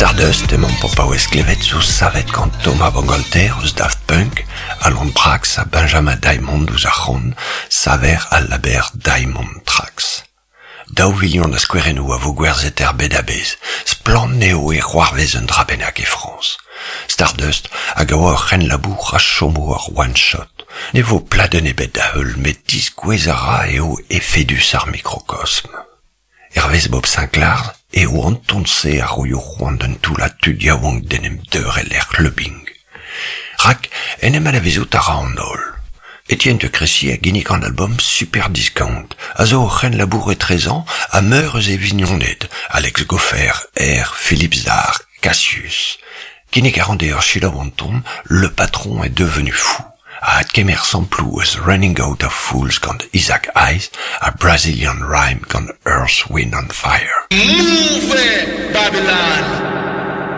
Stardust emaomp o paouez klevet zo savet gant Thomas Bangalter eus Daft Punk, Alan Braxe ha Benjamin Diamond ouzh ar c'hont, saver al label Diamond Tracks. Daou vilion a skouerennoù a vo gwerzhet er bed a-bezh. Splann eo e c'hoarvez un dra bennak e Frañs. Stardust hag a oa ur c'henlabour a chomo ur one-shot. Ne vo pladenn ebet da heul met diskouez a ra eo efedus ar mikrokosm. Hervez Bob Sinclair eo an ton-se a roio c'hoant d'un toullad tud yaouank d'en em deurel er c'hleubing. Rak en em anavezout a ra an holl. Etienne de Crécy a ginnig an album Super Discount, a zo ur c'henlabour etrezañ ha meur eus e vignoned, Alex Gopher, R, Philippe Zdar, Cassius. Kinnig a ran deoc'h selaou an ton Le patron est devenu fou, a adkemer samploù eus Running Out of Fools gant Isaac Hayes ha Brazilian Rhyme gant Earth, Wind and Fire. Move, Babylon!